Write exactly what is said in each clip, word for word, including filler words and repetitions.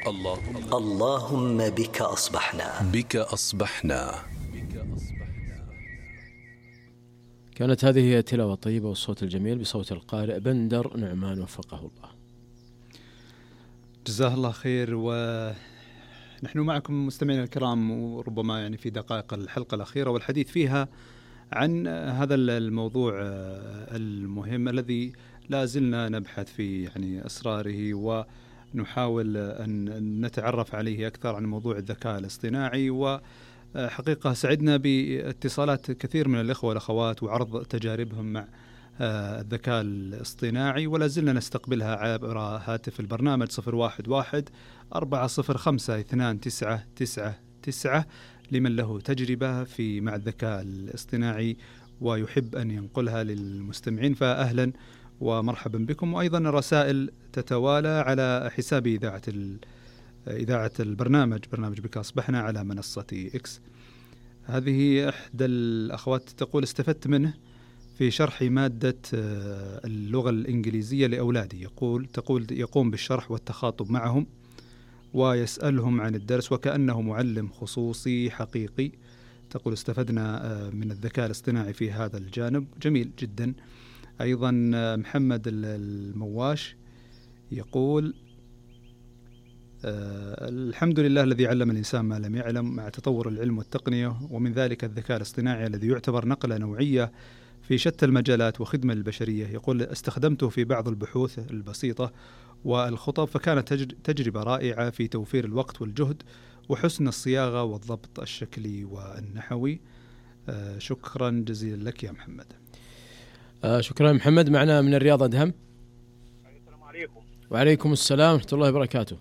اللهم اللهم بك أصبحنا بك أصبحنا. كانت هذه هي تلاوة طيبة والصوت الجميل بصوت القارئ بندر نعمان وفقه الله. جزاه الله خير. ونحن معكم مستمعين الكرام، وربما يعني في دقائق الحلقة الأخيرة والحديث فيها عن هذا الموضوع المهم الذي لا زلنا نبحث في يعني أسراره، ونحاول أن نتعرف عليه أكثر عن موضوع الذكاء الاصطناعي. وحقيقة سعدنا باتصالات كثير من الإخوة والأخوات وعرض تجاربهم مع الذكاء الاصطناعي، ولا زلنا نستقبلها عبر هاتف البرنامج صفر واحد واحد أربعة صفر خمسة اثنان تسعة تسعة تسعة لمن له تجربة في مع الذكاء الاصطناعي ويحب أن ينقلها للمستمعين، فأهلا ومرحبا بكم. وأيضا الرسائل تتوالى على حساب إذاعة إذاعة البرنامج برنامج بك أصبحنا على منصة إكس. هذه إحدى الأخوات تقول: استفدت منه في شرح مادة اللغة الإنجليزية لأولادي. يقول تقول يقوم بالشرح والتخاطب معهم ويسألهم عن الدرس وكأنه معلم خصوصي حقيقي. تقول استفدنا من الذكاء الاصطناعي في هذا الجانب. جميل جدا. أيضا محمد المواش يقول: الحمد لله الذي علم الإنسان ما لم يعلم مع تطور العلم والتقنية، ومن ذلك الذكاء الاصطناعي الذي يعتبر نقلة نوعية في شتى المجالات وخدمة للبشرية. يقول: استخدمته في بعض البحوث البسيطة والخطب، فكانت تجربة رائعة في توفير الوقت والجهد وحسن الصياغة والضبط الشكلي والنحوي. آه شكرا جزيلا لك يا محمد. آه شكرا محمد. معنا من الرياض أدهم. السلام عليكم. وعليكم السلام ورحمة الله وبركاته.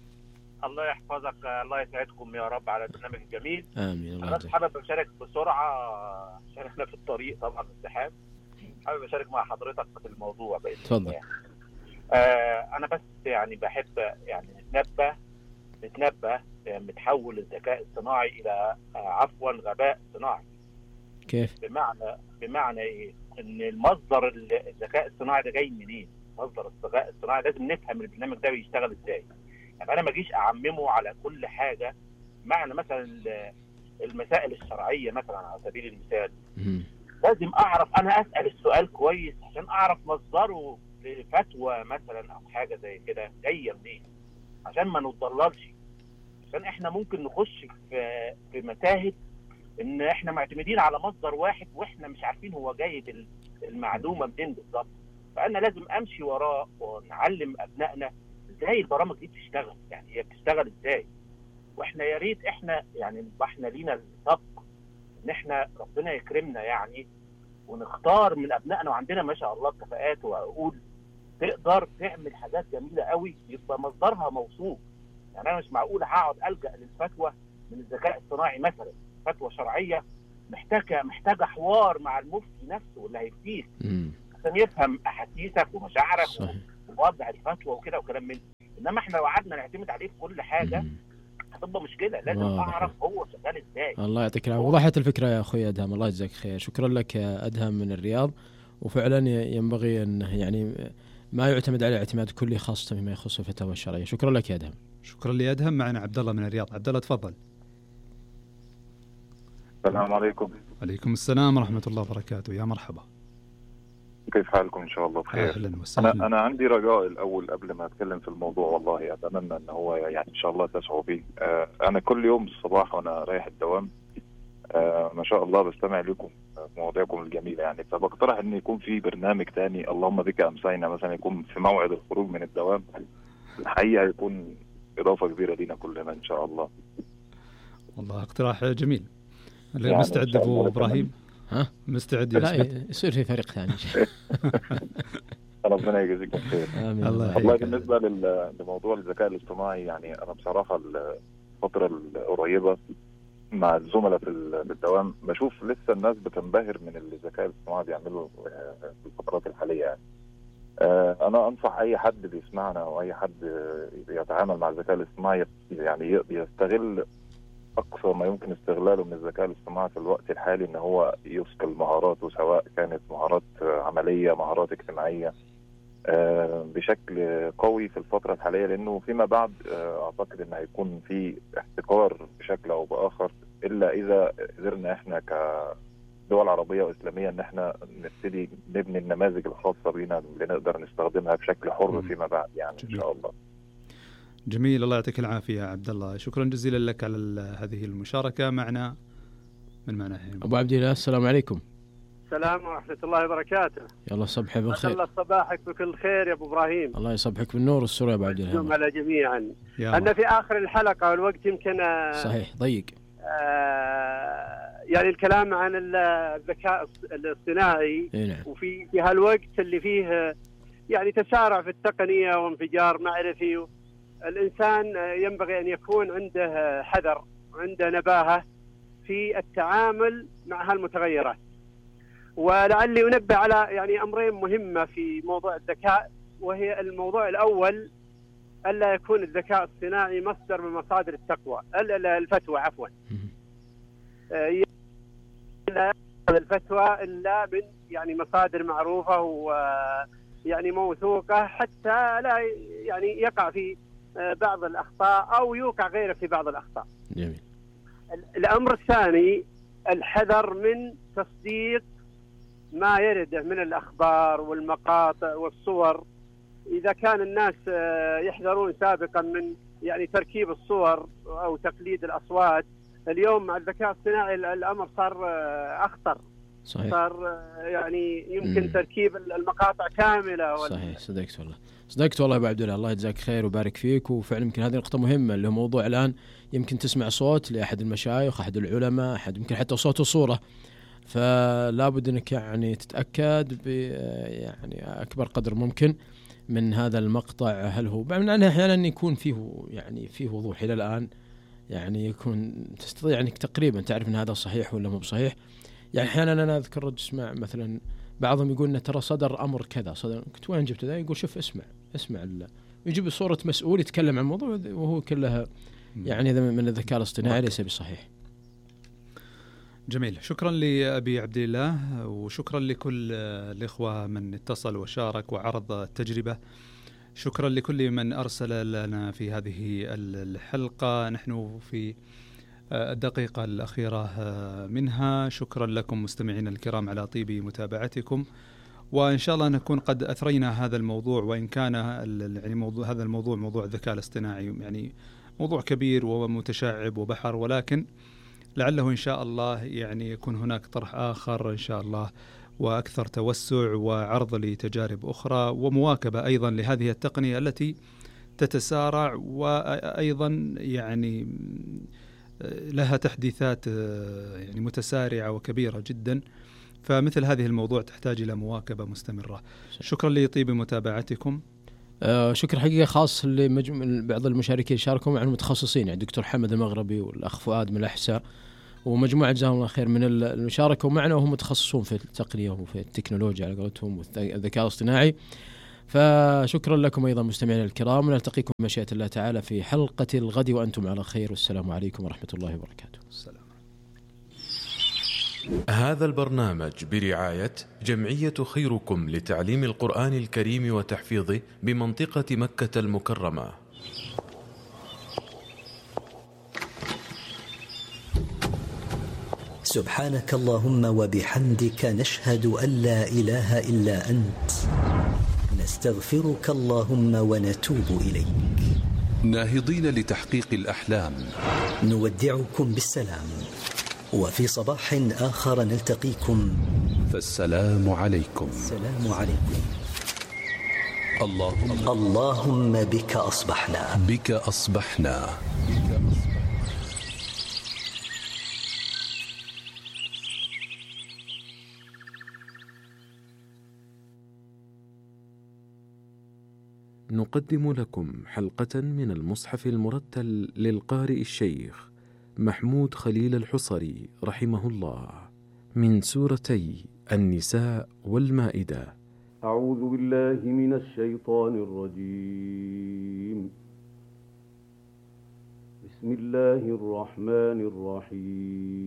الله يحفظك، الله يسعدكم يا رب على البرنامج الجميل. آمين. الله أنا حابب أشارك بسرعة عشان احنا في الطريق طبعا الزحام. حابب أشارك مع حضرتك في الموضوع بإذن تفضل. الله. آه أنا بس يعني بحب يعني نتنبه نتنبه متحول الذكاء الصناعي إلى آه عفوا غباء صناعي. كيف؟ بمعنى بمعنى إيه؟ إن المصدر الذكاء الصناعي ده جاي منين؟ مصدر الذكاء الصناعي لازم نفهم البرنامج ده بيشتغل إزاي. يعني أنا ما أجيش أعممه على كل حاجة. معنى مثلا المسائل الشرعية مثلا على سبيل المثال، م- لازم أعرف أنا أسأل السؤال كويس عشان أعرف مصدره لفتوى مثلا أو حاجة زي كده جاية منين، عشان ما نتضللش. عشان إحنا ممكن نخش في في متاهة إن إحنا معتمدين على مصدر واحد وإحنا مش عارفين هو جايب المعلومة منين بالظبط. فأنا لازم أمشي وراه ونعلم أبنائنا ازاي البرامج دي بتشتغل، يعني هي بتشتغل ازاي. واحنا يا ريت احنا يعني احنا لينا السبق ان احنا ربنا يكرمنا يعني ونختار من ابنائنا، وعندنا ما شاء الله كفاءات وعقول تقدر تعمل حاجات جميله قوي يبقى مصدرها موثوق. يعني انا مش معقول هقعد الجا للفتوى من الذكاء الصناعي مثلا، فتوى شرعيه محتاجه محتاجه حوار مع المفتي نفسه اللي هيفتيك عشان يفهم احاسيسك ومشاعرك ووضع الفتوى وكده وكلام من. انما احنا لو قعدنا نعتمد عليه في كل حاجه هتبقى مشكله. لازم اعرف هو شغال ازاي. الله يعطيك العافيه. وضحت الفكره يا اخوي ادهم، الله يجزاك خير. شكرا لك يا ادهم من الرياض. وفعلا ينبغي ان يعني ما يعتمد على اعتماد كلي خاصه فيما يخص الفتاوى الشرعيه. شكرا لك يا ادهم. شكرا لي ادهم. معنا عبد الله من الرياض. عبد الله تفضل. السلام عليكم. عليكم السلام ورحمه الله وبركاته. يا مرحبا. كيف حالكم؟ إن شاء الله بخير. أهلا وسهلا. أنا أنا عندي رجاء الأول قبل ما أتكلم في الموضوع، والله أتمنى أن هو يعني إن شاء الله تسعوا به. آه أنا كل يوم الصباح وأنا رايح الدوام آه ما شاء الله بستمع لكم مواضيعكم الجميلة يعني، فبقترح أن يكون في برنامج تاني اللهم بك أمسينا مثلا، يكون في موعد الخروج من الدوام. الحقيقة يكون إضافة كبيرة لنا كلنا إن شاء الله. والله اقتراح جميل. يعني مستعد أبو إبراهيم؟ ها مستعد؟ لا يصير في فريق ثاني. ربنا يجزيكم خير. آمين. الله والله بالنسبة لموضوع الذكاء الاصطناعي يعني أنا بصراحة الفترة القريبة مع الزملاء في الدوام بشوف لسه الناس بتنبهر من الذكاء الاصطناعي بيعمله في الفترات الحالية يعني. أنا أنصح أي حد بيسمعنا أو أي حد يتعامل مع الذكاء الاصطناعي يعني يستغل أقصى ما يمكن استغلاله من الذكاء الاصطناعي في الوقت الحالي، إن هو يثقل مهاراته، سواء كانت مهارات عملية مهارات اجتماعية. بشكل قوي في الفترة الحالية، لأنه فيما بعد أعتقد أن هيكون في احتكار بشكل أو بآخر، إلا إذا قدرنا إحنا كدول عربية وإسلامية أن إحنا نبتدي نبني النماذج الخاصة بنا اللي نقدر نستخدمها بشكل حر فيما بعد يعني. جميل. إن شاء الله. جميل، الله يعطيك العافية عبد الله، شكرا جزيلا لك على هذه المشاركة معنا. من معنا هنا أبو عبد الله، السلام عليكم. السلام ورحمة الله وبركاته. يلا صبحك بالخير. الله صباحك بكل خير يا أبو إبراهيم. الله يصبحك بالنور والسرور يا أبو عبد الله. على جميعا. أنا في آخر الحلقة والوقت يمكن صحيح ضيق. آه يعني الكلام عن الذكاء الاصطناعي. إيه نعم. وفي في هالوقت اللي فيه يعني تسارع في التقنية وانفجار معرفي، الإنسان ينبغي أن يكون عنده حذر، عنده نباهة في التعامل مع هالمتغيرات. ولعلي أنبه على يعني أمرين مهمة في موضوع الذكاء، وهي الموضوع الأول ألا يكون الذكاء الصناعي مصدر من مصادر التقوى الفتوى عفوا لا الفتوى إلا من يعني مصادر معروفة ويعني موثوقة، حتى لا يعني يقع في بعض الأخطاء أو يوقع غيره في بعض الأخطاء. جميل. الأمر الثاني الحذر من تصديق ما يرده من الأخبار والمقاطع والصور. إذا كان الناس يحذرون سابقا من يعني تركيب الصور أو تقليد الأصوات، اليوم مع الذكاء الصناعي الأمر صار أخطر. صحيح. صار يعني يمكن مم. تركيب المقاطع كاملة. صحيح، صدقت والله صدقت والله أبو عبد الله، الله يجزاك خير وبارك فيك. وفعلا يمكن هذه نقطة مهمة، اللي هو موضوع الآن يمكن تسمع صوت لأحد المشايخ، أحد العلماء، أحد يمكن حتى صوت وصورة، فلا بد أنك يعني تتأكد ب يعني أكبر قدر ممكن من هذا المقطع، هل هو من أنه أحيانا يكون فيه يعني فيه وضوح إلى الآن، يعني يكون تستطيع أنك تقريبا تعرف أن هذا صحيح ولا مو بصحيح. يعني أحيانا أنا أذكر رد اسمع مثلا بعضهم يقول إن ترى صدر أمر كذا، صدر قلت وين جبت ذا؟ يقول شوف اسمع اسمع الله، يجيب صورة مسؤول يتكلم عن موضوع وهو كلها يعني هذا من الذكاء الاصطناعي ليس بصحيح. جميل، شكرا لأبي عبد الله، وشكرا لكل الإخوة من اتصل وشارك وعرض التجربة. شكرا لكل من أرسل لنا في هذه الحلقة، نحن في الدقيقة الأخيرة منها. شكرا لكم مستمعينا الكرام على طيب متابعتكم، وإن شاء الله نكون قد أثرينا هذا الموضوع، وإن كان يعني موضوع هذا الموضوع موضوع الذكاء الاصطناعي يعني موضوع كبير ومتشعب وبحر، ولكن لعله إن شاء الله يعني يكون هناك طرح آخر إن شاء الله وأكثر توسع وعرض لتجارب أخرى ومواكبة أيضا لهذه التقنية التي تتسارع، وأيضا يعني لها تحديثات يعني متسارعة وكبيرة جدا، فمثل هذه الموضوع تحتاج إلى مواكبة مستمرة. شكرا لطيب متابعتكم. آه شكر حقيقة خاص لبعض المشاركين شاركوا معنا المتخصصين، يعني الدكتور حمد المغربي والأخ فؤاد من الأحساء ومجموعة جزاهم الله خير من المشاركة معنا، وهم متخصصون في التقنية وفي التكنولوجيا على قولتهم والذكاء الاصطناعي. فشكرا لكم أيضا مستمعينا الكرام، ونلتقيكم بمشيئة الله تعالى في حلقة الغد وأنتم على خير، والسلام عليكم ورحمة الله وبركاته. السلام. هذا البرنامج برعاية جمعية خيركم لتعليم القرآن الكريم وتحفيظه بمنطقة مكة المكرمة. سبحانك اللهم وبحمدك، نشهد أن لا إله إلا أنت، نستغفرك اللهم ونتوب إليك. ناهضين لتحقيق الأحلام، نودعكم بالسلام، وفي صباح آخر نلتقيكم، فالسلام عليكم. السلام عليكم. اللهم اللهم بك أصبحنا بك أصبحنا نقدم لكم حلقة من المصحف المرتل للقارئ الشيخ محمود خليل الحصري رحمه الله، من سورتي النساء والمائدة. أعوذ بالله من الشيطان الرجيم. بسم الله الرحمن الرحيم.